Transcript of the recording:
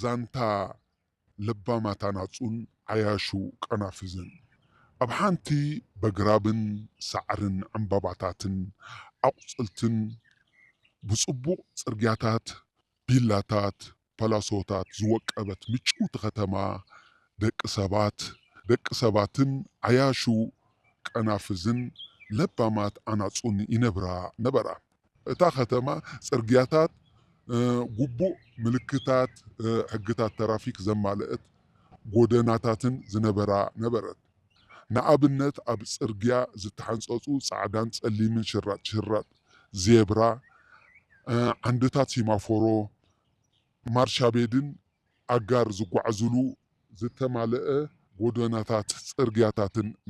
ዛንታ ለባማት ኣናጹን ዓያሹ ቀናፍዝን። ኣብ ሓንቲ በግራብን ሳዕርን ዕምባባታትን ኣቑጽልትን ብጽቡቕ ጽርግያታት፣ ቢላታት፣ ፓላሶታት ዝወቀበት ምጭውቲ ከተማ ደቂ ሰባት፣ ደቂ ሰባትን ዓያሹ ቀናፍዝን ለባማት ኣናጹን ይነብራ ነበራ። እታ ከተማ ጽርግያታት፣ እ፣ ግቡእ ምልክታት፣ እ፣ ሕግታት ትራፊክ ዘማልአት ጎደናታትን ዝነበራ ነበረት። ንኣብነት ኣብ ጽርግያ ዝተሓንጸጹ ጻዕዳን ጸሊምን ሽራጥ ሽራጥ ዜብራ፣ እ፣ ዓንድታት ሲማፎሮ፣ ማርሻቤድን ኣጋር ዝጓዓዙሉ ዝተማልአ ጎደናታት ጽርግያታትን